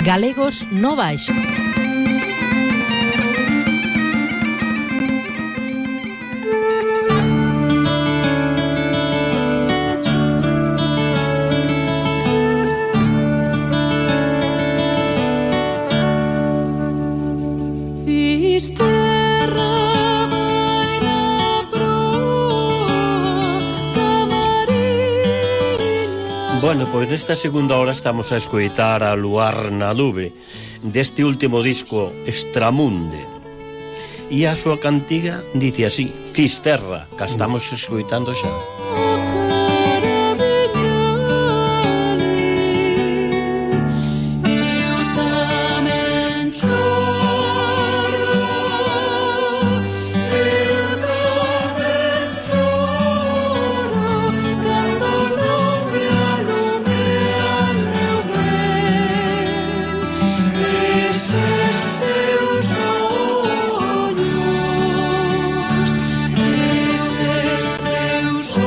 Galegos no Baixo. Bueno, pois nesta segunda hora estamos a escoitar a Luar na Nube deste último disco Extramunde, e a súa cantiga dice así: Fisterra, que estamos escoitando xa. Eses teus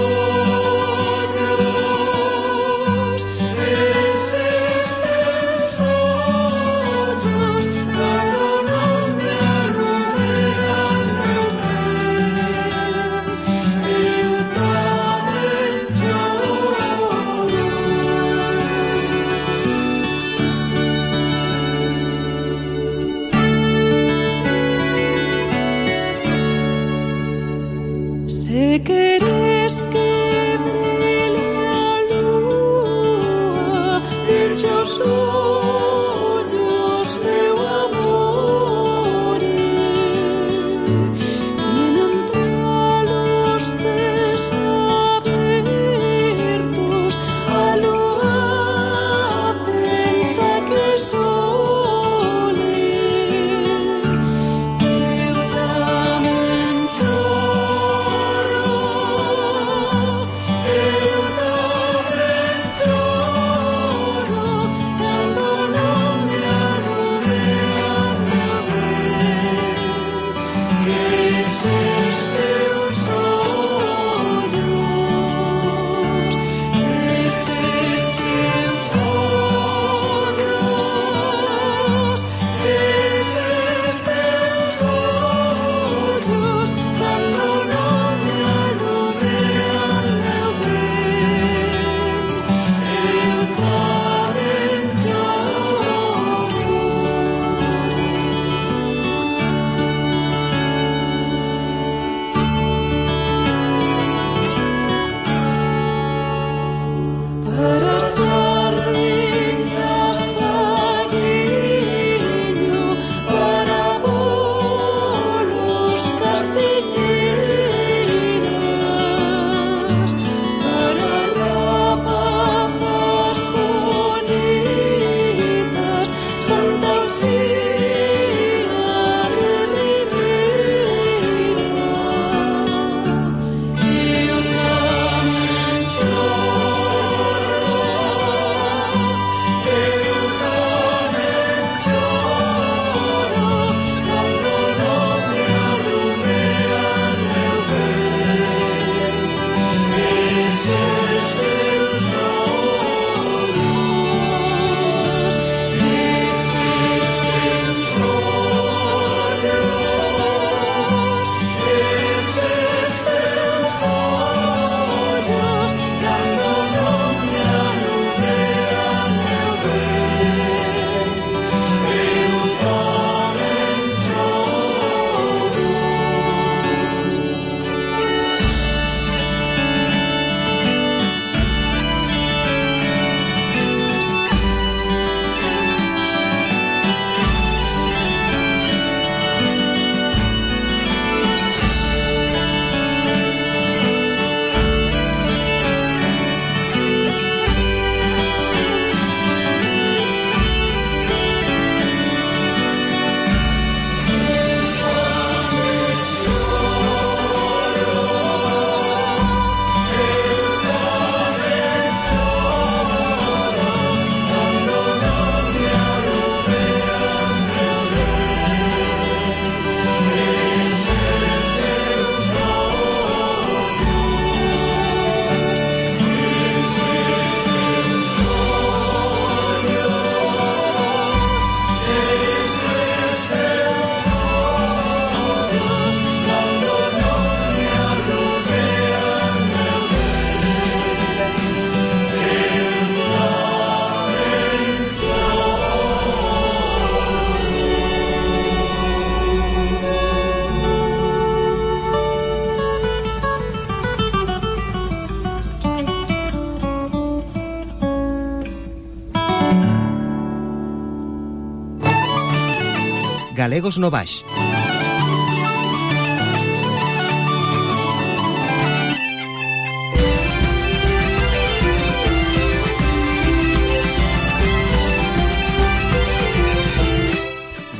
Galegos no Baix.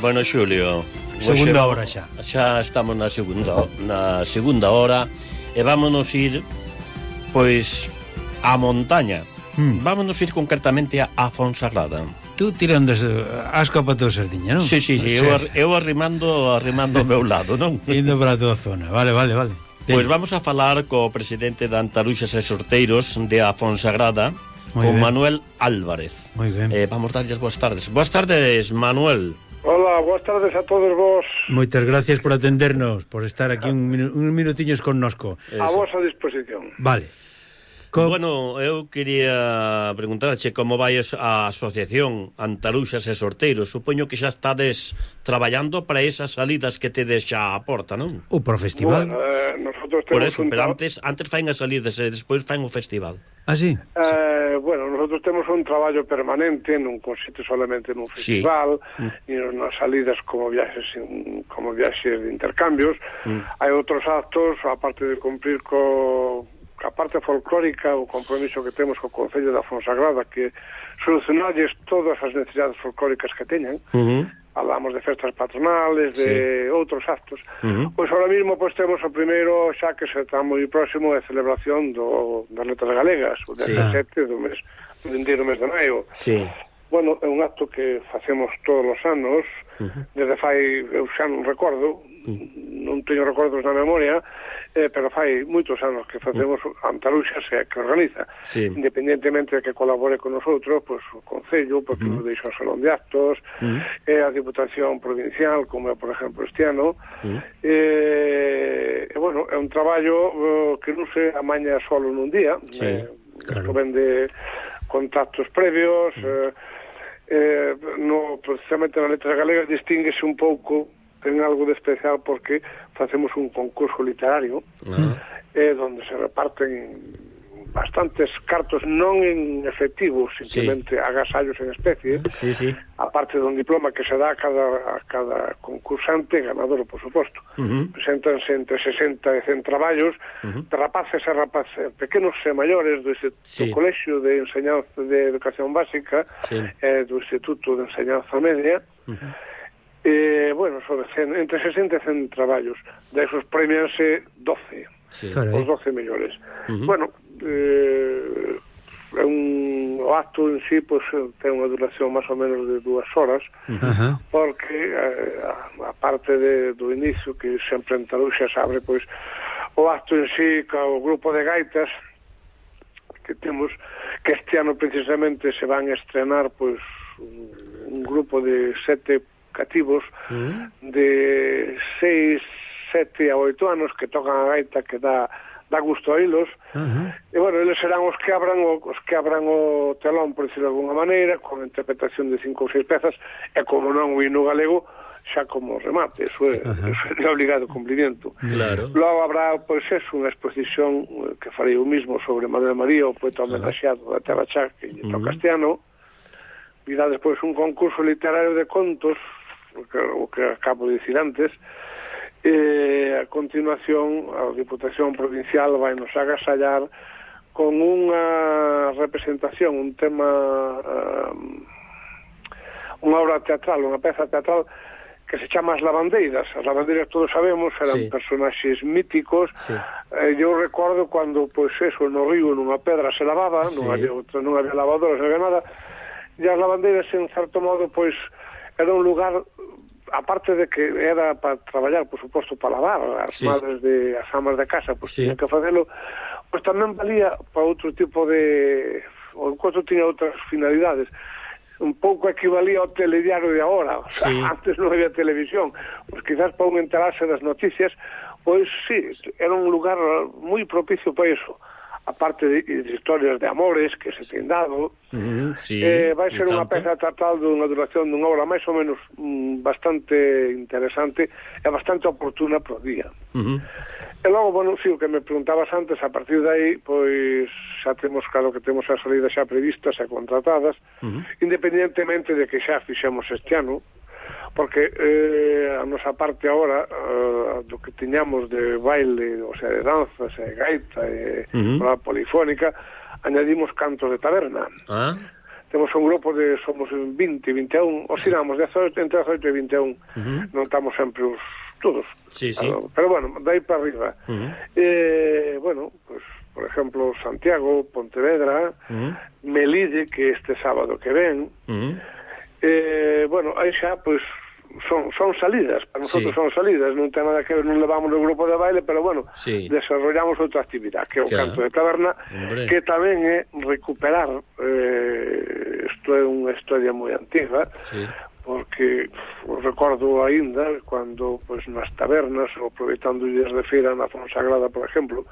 Bueno, Xulio, Segunda hora xa. Xa estamos na segunda hora e vámonos ir pois á montaña. Vámonos ir concretamente a Fonsagrada. Tú tirando asco para toda Sardiña, non? Sí, eu arrimando ao meu lado, non? Indo para toda a zona. Vale. Pois vamos a falar co presidente de Antaruxas e Sorteiros de a Fonsagrada, con Manuel Álvarez. Moi ben. Vamos darlles boas tardes. Boas tardes, Manuel. Hola, boas tardes a todos vos. Moitas gracias por atendernos, por estar aquí un minutiños connosco. A vosa disposición. Vale. Bueno, eu quería preguntarche como vai a asociación Antaruxas e Sorteiros. Supoño que xa estades traballando para esas salidas que tedes xa a porta, non? O pro festival. Bueno, nosotros Por temos eso, pero antes fain as salidas e despois fain o festival. Ah, sí? Bueno, nosotros temos un traballo permanente, non consiste solamente nun festival, ni nas salidas como viaxes de intercambios. Hai outros actos, aparte de cumprir a parte folclórica, o compromiso que temos co Concello da Fonsagrada, que solucionarlles todas as necesidades folclóricas que teñan. Hablamos de festas patronales, de outros actos. Pois ahora mismo temos o primeiro, xa que se está moi próximo, a celebración das letras galegas, o 17 do vindeiro mes de maio. Bueno, é un acto que facemos todos os anos, desde fai, eu xa non recordo, non teño recordos na memoria, pero fai moitos anos que facemos Antaruxas e que organiza, independentemente de que colabore con nosotros, pois o Concello, porque nos deixa o Salón de Actos, a Diputación Provincial, como é, por exemplo, este ano, e bueno, é un traballo que non se amaña solo nun día, ven de contactos previos, precisamente na letra galega distínguese un pouco, ten algo de especial porque facemos un concurso literario donde se reparten bastantes cartos, non en efectivo, simplemente agasallos en especie, aparte dun diploma que se dá a cada concursante, ganador, por suposto. Preséntanse entre 60 e 100 traballos de rapaces e rapaces pequenos e maiores do Colexio de Enseñanza de Educación Básica e do Instituto de Enseñanza Media. Bueno, entre 60 e 100 traballos. De esos premianse 12, os 12 mellores. Bueno, o acto en sí ten unha duración máis ou menos de 2 horas, porque a parte do inicio, que sempre en Taruxa se abre o acto en sí co grupo de gaitas que temos, que este ano precisamente se van a estrenar un grupo de 7 cativos de 6, 7 a 8 anos que tocan a gaita, que dá gusto a hilos. E bueno, eles serán os que abran o telón, por decirlo de alguna maneira, con interpretación de 5 ou 6 pezas, e como non o hino galego xa como remate, eso é de obligado cumprimento. Logo habrá, unha exposición que farei eu mismo sobre Manuel María, o poeta homenaxeado da Terra Chá, que lle toca este ano. Virá despois un concurso literario de contos, o que acabo de dicir antes, e a continuación a Diputación Provincial vai nos agasallar con unha representación, un tema, unha obra teatral, unha peza teatral que se chama As Lavandeiras. As lavandeiras, todos sabemos, eran personaxes míticos. Eu recordo cando, no río, nunha pedra se lavaba, non había lavadoras, non había nada, e as lavandeiras, en certo modo, era un lugar, aparte de que era para traballar, por suposto, para lavar, as madres as amas de casa, tiñan que facelo, tamén valía para outro tipo de... o encontro tiña outras finalidades. Un pouco equivalía ao telediario de agora, antes non había televisión, quizás para un enterarse das noticias, era un lugar moi propicio para iso. Aparte de historias de amores que se ten dado, vai ser unha peza teatral dunha duración dunha hora máis ou menos bastante interesante e bastante oportuna pro día. E logo, o que me preguntabas antes, a partir de aí, xa temos, claro que temos as salidas xa previstas e contratadas, independentemente de que xa fixemos este ano, porque a nosa parte agora do que tiñamos de baile, o sea, de danzas e gaita e polifónica, añadimos cantos de taberna. Temos un grupo de, somos 20, 21, oscilamos entre 18 e 21, non estamos sempre os todos, pero bueno, dai para arriba. Bueno, pues por exemplo, Santiago, Pontevedra, Melide, que este sábado que ven, bueno, aí xa, pues, son salidas, para nosotros son salidas, non ten nada que ver, non levamos o grupo de baile, pero bueno, desarrollamos outra actividade, que é o canto de taberna, que tamén é recuperar, isto é unha historia moi antiga, porque recordo ainda cando pues, nas tabernas, aproveitando días de feira na Fonsagrada, por exemplo,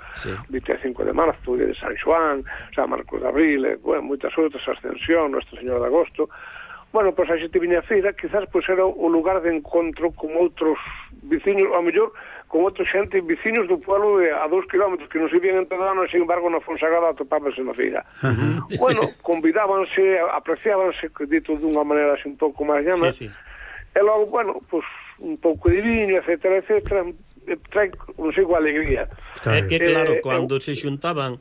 25 de marzo, dia de San Xoán, San Marcos de Abril, bueno, moitas outras, Ascensión, Nuestra Señora de Agosto. Bueno, pois a xente viña a feira, quizás pois era o lugar de encontro con outros veciños, ao mellor con outra xente, veciños do pueblo a 2 kilómetros que non se vían entre danos, sin embargo na Fonsagrada atopábanse na feira. Bueno, convidábanse, apreciábanse, dito dunha maneira así un pouco máis llana, e logo, bueno, pois un pouco de viño, etcétera, etcétera, trae consigo alegría. É que claro, cando se xuntaban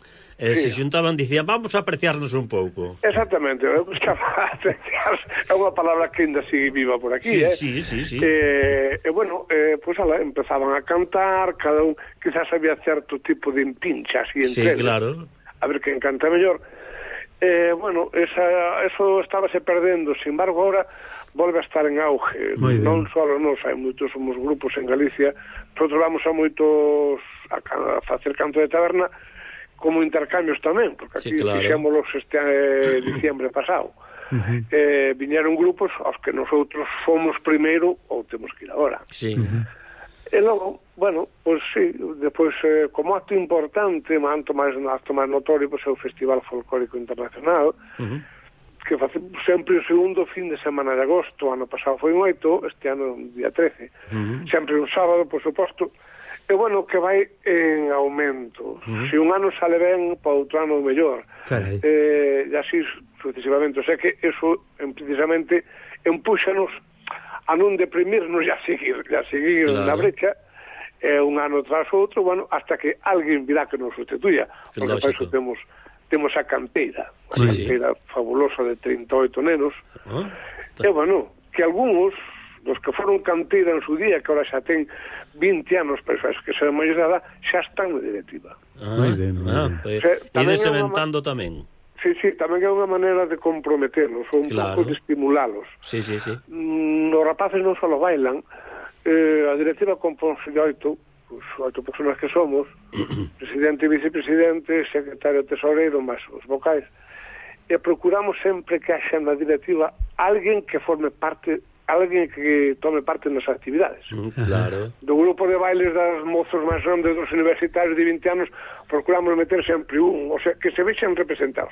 dicían, vamos a apreciarnos un pouco. Exactamente, eu buscaba apreciarnos, é unha palabra que ainda sigue viva por aquí, Sí. Bueno, pois empezaban a cantar, cada un, quizás había certo tipo de empinchas e entre claro. A ver quen canta mellor. Bueno, eso estábase perdendo, sin embargo, ahora volve a estar en auge. Non só nos, hai moitos, somos grupos en Galicia, nosotros vamos a moitos a facer canto de taberna como intercambios tamén, porque aquí fixémolos este diciembre pasado. Viñeron grupos aos que nosotros fomos primeiro ou temos que ir agora. E logo, bueno, pois sí, depois como acto importante, acto máis notorio, pois é o Festival Folclórico Internacional, que face sempre o segundo fin de semana de agosto. Ano pasado foi un 8, este ano día 13. Sempre un sábado, por suposto. E bueno, que vai en aumento. Se un ano sale ben, para outro ano mellor. E así sucesivamente. O sea que eso precisamente empúxanos a non deprimirnos e a seguir na brecha, un ano tras outro, bueno, hasta que alguén virá que nos sustituya. Porque para eso temos a canteira, canteira fabulosa de 38 nenos. E bueno, que algúns dos que foron canteira en su día, que ahora xa ten 20 anos, pero que se máis nada, xa están na directiva. Moi ben. E desementando tamén. Sí, tamén é unha maneira de comprometerlos, ou un pouco de estimularlos. Sí. Os rapaces non só bailan, a directiva compónse de 8 personas que somos, presidente e vicepresidente, secretario tesoreiro, máis os vocais, e procuramos sempre que haxa na directiva alguén que forme parte, alguén que tome parte nas actividades. Do grupo de bailes das mozos máis grandes dos universitarios de 20 anos, procuramos meter sempre un, o sea, que se vexan representados.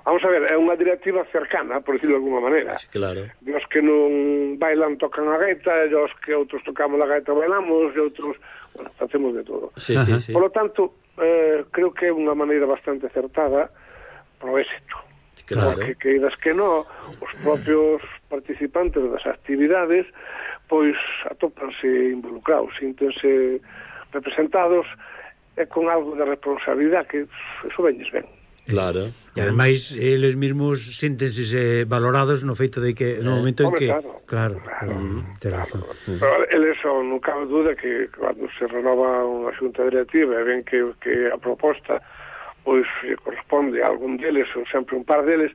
Vamos a ver, é unha directiva cercana, por decirlo de alguma maneira. Os que non bailan tocan a gaita, e os que outros tocamos a gaita bailamos, e outros, bueno, facemos de todo. Por lo tanto, creo que é unha maneira bastante acertada para o éxito. Porque queiras que non, os propios participantes das actividades pois atópanse involucrados, síntense representados e con algo de responsabilidade, que eso veñes ben. E ademais eles mesmos síntense valorados no feito de que no momento en que claro. Ten razón. Pero eles son, non cabe dúda que cando se renova unha xunta directiva e ven que a proposta pois corresponde a algún deles ou sempre un par deles,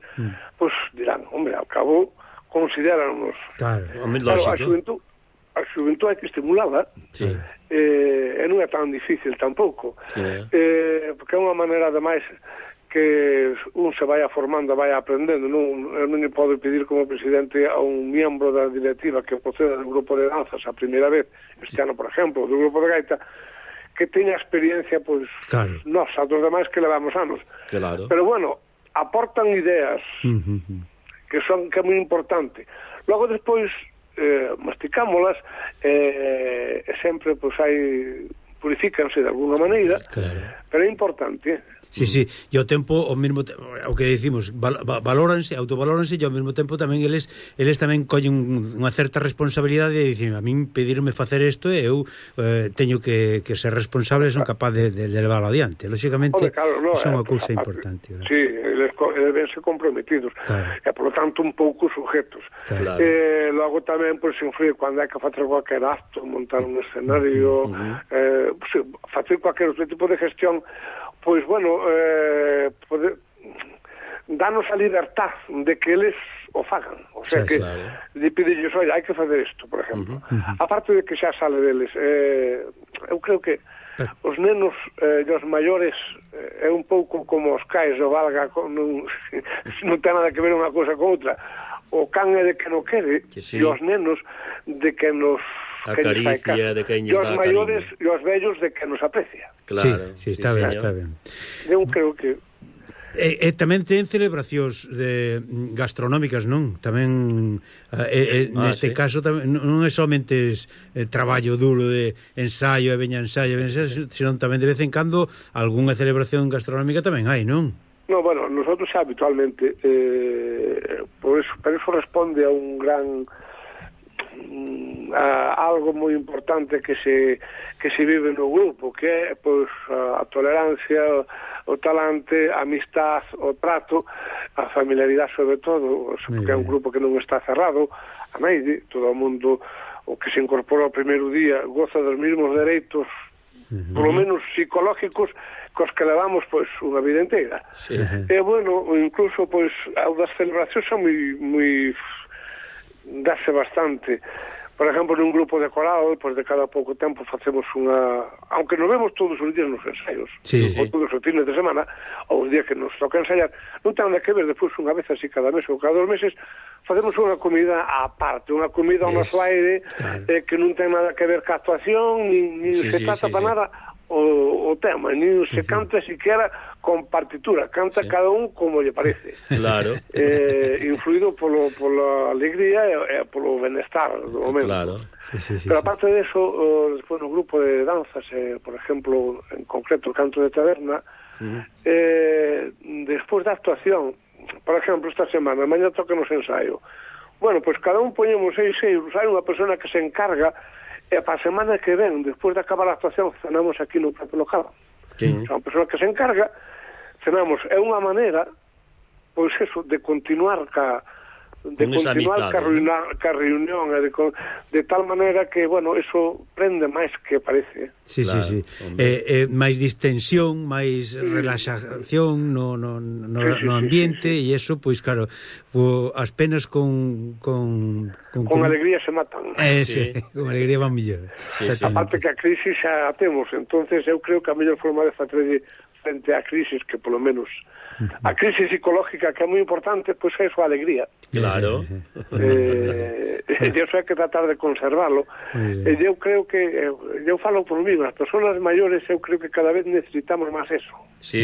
pois dirán, hombre, ao cabo considéranos. Claro, a xuventude hai que estimulada, e non é tan difícil tampouco, porque é unha maneira ademais que un se vaya formando, vaya aprendendo. Non lle podo pedir como presidente a un miembro da directiva que proceda do grupo de danzas a primeira vez, este ano, por exemplo, do grupo de gaita, que teña experiencia, pois, nós, a dos demais que levamos anos. Pero bueno, aportan ideas que é moi importante. Logo, despois, masticámolas, e sempre, pois, purifícanse de alguna maneira, pero é importante, Sí, sí, e ao tempo, o mesmo o que dicimos, valóranse, autovalóranse, e ao mesmo tempo tamén eles tamén collen unha certa responsabilidade de dicir, a min pedirme facer isto e eu teño que ser responsable e son capaz de levarlo adiante. Lógicamente, claro, iso é unha cousa importante. Sí, eles deben ser comprometidos, claro. E por lo tanto un pouco sujetos. Claro. Logo tamén, pois, influir cando hai que facer cualquier acto, montar un escenario, facer cualquier outro tipo de gestión, pois, bueno, danos a libertad de que eles o fagan. O sea, que de pedirles, olha, hai que fazer isto, por exemplo. Aparte de que xa sale deles, eu creo que os nenos e os maiores é un pouco como os cais, o valga, non ten nada que ver unha cousa con outra. O can é de que non quere, e os nenos de que nos acaricia, de que nos dá cariño. E os maiores e os vellos de que nos aprecia. Claro, sí, está ben, está ben. Eu creo que tamén ten celebracións gastronómicas, non? Tamén neste caso non é somente traballo duro de ensayo e veña ensayo, senón tamén de vez en cando algunha celebración gastronómica tamén hai, non? No, bueno, nosotros habitualmente por eso responde a un gran algo moi importante que se vive no grupo, que é pois a tolerancia, o talante, a amistad, o trato, a familiaridade sobre todo, porque é un grupo que non está cerrado a meide, todo o mundo o que se incorpora ao primeiro día goza dos mesmos dereitos, por lo menos psicológicos, cos que levamos pois unha vida inteira. E bueno, incluso pois as celebracións son moi dase bastante. Por exemplo, nun grupo de coral, pois de cada pouco tempo facemos unha... Aunque nos vemos todos os días nos ensaios, ou todos os fines de semana, ou os días que nos toca ensaiar, non ten nada que ver, despois unha vez así cada mes ou cada 2 meses, facemos unha comida á parte, unha comida ao noso aire, que non ten nada que ver ca actuación, nin se trata para nada o tema, nin se canta siquiera con partitura, canta cada un como lle parece. Claro. Influído pola alegría e polo benestar do momento. Claro. Pero aparte de eso, despois no grupo de danzas, por exemplo, en concreto o canto de taberna, despois da actuación, por exemplo, esta semana, mañá toca nos ensaio. Bueno, pois cada un poñemos 6 euros, hai unha persona que se encarga. E para a semana que ven, despois de acabar a actuación, cenamos aquí no propio local. Son unha persona que se encarga, cenamos. É unha maneira, pois eso, de continuar ca reunión, de tal maneira que, bueno, eso prende máis que parece. Sí. Máis distensión, máis relaxación no ambiente, e eso, pois claro, as penas con alegría se matan. Con alegría van mellor. Aparte que a crisis xa a temos, entonces eu creo que a mellor forma de facer frente á crisis, que polo menos a crisis psicológica, que é moi importante, pois é a alegría. Claro. E iso hai que tratar de conservarlo. E eu creo que, eu falo por mí, as persoas maiores, eu creo que cada vez necesitamos máis eso. Sí.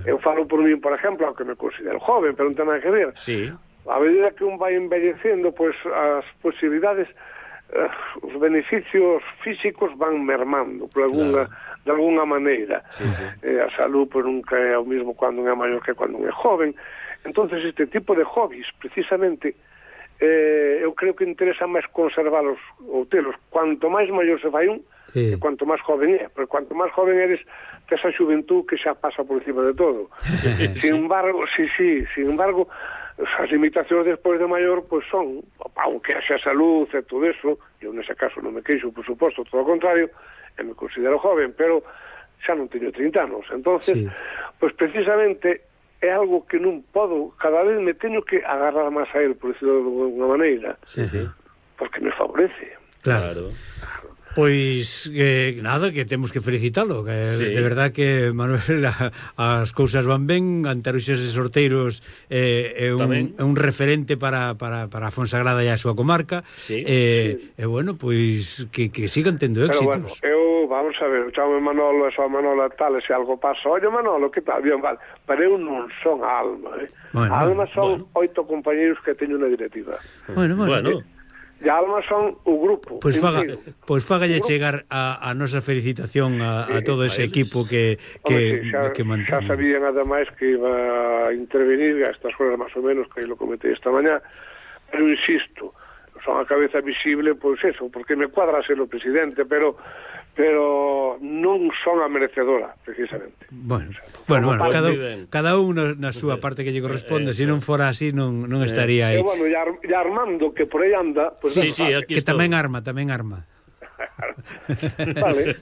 Eu falo por mí, por exemplo, aunque me considero joven, pero non ten nada que ver. Sí. A medida que un vai envellecendo, pois as posibilidades, os beneficios físicos van mermando de alguna maneira. A salud pois nunca é o mismo cando un é maior que cando un é joven. Entonces este tipo de hobbies, precisamente, eu creo que interesa máis conservalos ou telos. Cuanto máis maior se fai un, e cuanto máis joven é, pero cuanto máis joven eres, tes a xuventud que xa pasa por encima de todo. Sin embargo, as limitacións despois de maior, pois son, aunque haxa salud e todo eso, eu nese caso non me queixo, por suposto, todo o contrario, e me considero joven, pero xa non teño 30 anos. Entonces, pois precisamente é algo que non podo, cada vez me teño que agarrar máis a él, por decirlo de alguna maneira, porque me favorece. Claro. Pois nada, que temos que felicitalo, que de verdad que Manuel as cousas van ben, Antaruxas de Sorteiros é un referente para a Fonsagrada e a súa comarca. E bueno, pois que sigan tendo éxitos. Pero bueno, vamos a ver, chamo Manolo, esa Manolo tal, se algo pasa, oye Manolo, que tal? Bien, vale, pero eu non son a Alma, a Alma son 8 compañeros que teño na directiva. Bueno. de Alma son o grupo. Pois fágalle chegar a nosa felicitación a todo ese equipo que mantén. Xa sabían ademais que iba a intervenir a estas horas máis ou menos, que lo comentei esta mañá, pero insisto, son a cabeza visible, pois eso, porque me cuadra ser o presidente, pero non son a merecedora, precisamente. Bueno, cada un na súa parte que lle corresponde, se non fora así non estaría aí. Bueno, e Armando, que por aí anda, pues, sí, aquí que tamén arma. Vale.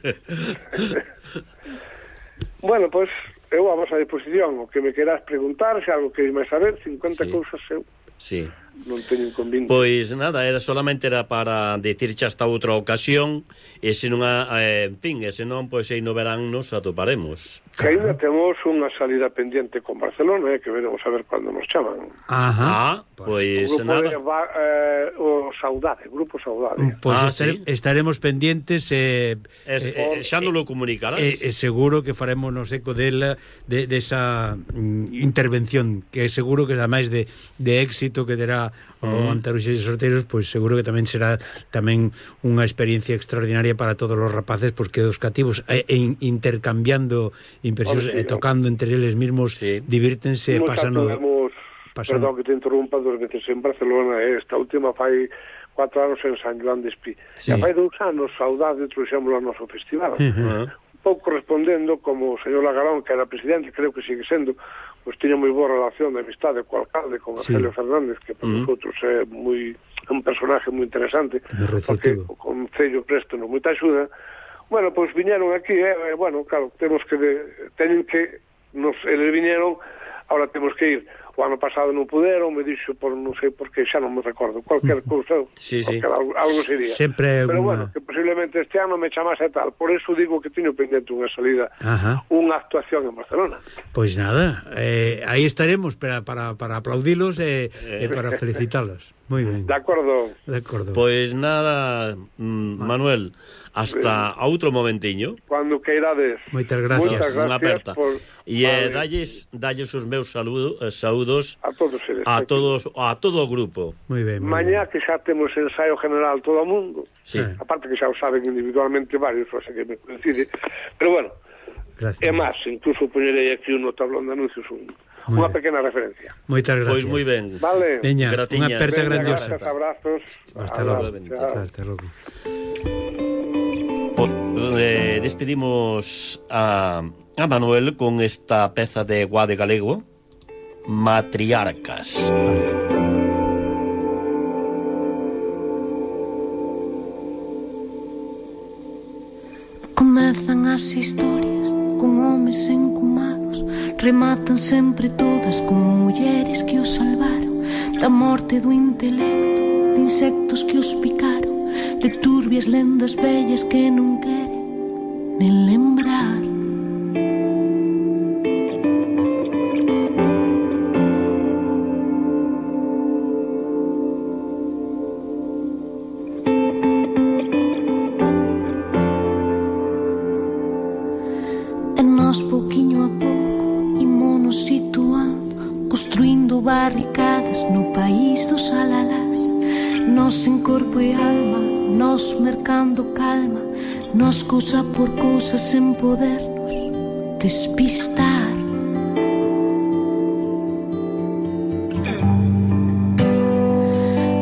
Bueno, pues eu a vosa disposición, o que me queras preguntar, se algo que máis saber, 50 cousas eu. Sí. Non teño inconveniente. Pois nada, solamente era para decirche hasta outra ocasión, e se non en fin, e se non, pois aí no verán nos atoparemos. Que ainda temos unha salida pendiente con Barcelona, que veremos a ver cando nos chaman. Pois nada. O Grupo Saudade. Pois estaremos pendientes xa non lo comunicarás. Seguro que faremos eco desa intervención, que seguro que ademais de éxito que terá o Antaruxes de Sorteiros, pois seguro que tamén será tamén unha experiencia extraordinaria para todos os rapaces, porque os cativos intercambiando impresións e tocando entre eles mesmos, divírtense e pasando. Perdón que te interrumpa, 2 veces en Barcelona, esta última fai 4 anos en San Joan de Espí. E fai 2 anos Saudade trouxémolo ao noso festival. Un pouco respondendo, como o señor Lagarón, que era presidente, creo que sigue sendo, pois tiña moi boa relación de amistade co alcalde, con Arcelio Fernández, que para nosotros é un personaje moi interesante, porque o Concello préstanos moita axuda. Bueno, pois viñeron aquí, bueno, claro, teñen que eles viñeron, ahora temos que ir. O ano pasado non puderon, me dixo por non sei por que, xa non me recordo, cualquier cousa, algo sería. Pero bueno, que posiblemente este ano me chamase tal, por eso digo que teño pendente unha salida, unha actuación en Barcelona. Pois nada, aí estaremos para aplaudilos e para felicitalos. Moi ben. De acordo. Pois nada, Manuel, hasta outro momentiño. Cuando queirades. Moitas gracias. Unha aperta. E dalles os meus saúdos a todos eles. A todo o grupo. Moi ben. Mañá que xa temos ensaio general todo o mundo. Aparte que xa o saben individualmente varios, o sea que me coincide. Pero bueno, é máis, incluso poñerei aquí no tablón de anuncios unha pequena referencia. Moitas gracias. Pois moi ben. Vale. Veña, unha aperta grandiosa. Abrazos. Hasta logo. Despedimos a Manuel con esta peza de Guade Galego, Matriarcas. Comezan as historias con homes encumados, rematan sempre todas con mulleres que os salvaron da morte do intelecto, de insectos que os picaron, de turbias lendas vellas que non queren nen lembrar. Pouquiño a pouco ímonos situando, construindo barricadas no país dos alalás. Nos en corpo e alma, nos mercando calma, nos cousa por cousa sen podernos despistar.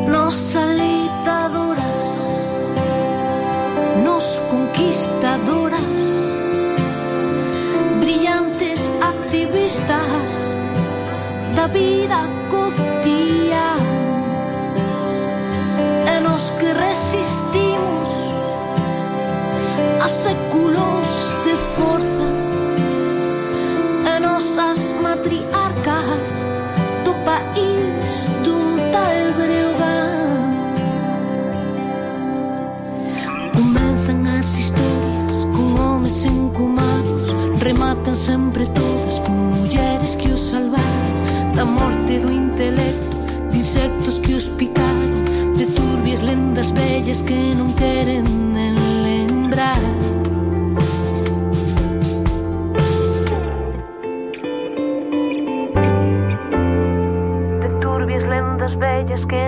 Nos alitadoras, nos conquistadoras, activistas da vida cotidiana, e nos que resistimos a séculos de forza, e nosas matriarcas do país dun tal Breogán. Comenzan as historias con homes encumados, rematan sempre todas con mulleres que os salvaron da morte do intelecto, de insectos que os picaron, de turbias lendas vellas que non queren nen lembrar. De turbias lendas vellas que